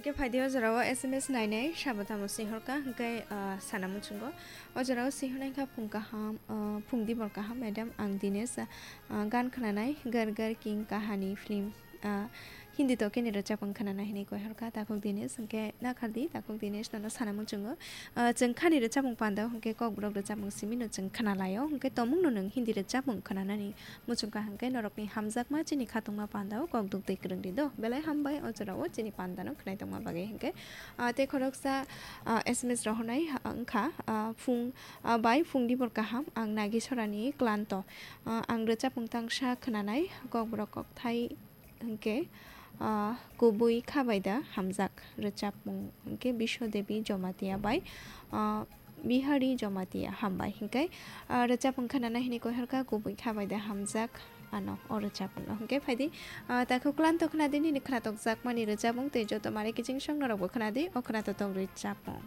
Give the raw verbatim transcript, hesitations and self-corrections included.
Khe phaidi o jorao S M S nainai sabo tamo sihorkha, hwnkhe, ah, sana muchungo. O jorao sihornaikha phung kaham, ah, phung dibor kaham, madam, ang Dinesh, ah, gan khnanai, Gar Gar King Kahani film, ah, Hindi to khe ni rwchapmung khnana hinwi koihorkha takhuk Dinesh, hwnkhe nakhardi takhuk Dinesh nono sana muchungo. Ah, chwng khani rwchapmung panda hwnkhe kokborok rwchapmung simi no chwng khnalaio, hwnkhe tomungno nwng Hindi rwchapmung khnanani muchungkha hwnkhe norokni hamjakma chini khatungma pandao kok duk twi kwrwngri do. Belai hambai o jorao chini pandano khwnai tongma bagwi hwnkhe, ah, tei khoroksa, ah, S M S rohornai, ah, wngkha, ah, phung, ah, bai phung dibor kaham ang Nagisorani klanto. Ah, ang rwchapmung tangsa khwnanai kokborok kokthai hwnkhe, ah, kubui khabaida hamjak rwchapmung hwnkhe Biswa Devi Jomatia bai, ah, Bihari Jomatia hambai hwnkhe, ah, rwchapmung khanana hinwi koihorkha kubui khabaida hamjak ano o rwchapmungno hwnkhe phaidi, ah, takhuk klanto khwnadi nini khwnatokjakmani rwchapmung tei joto mare kiching song norokbo khwnadi o khwnatotok rwchapmung.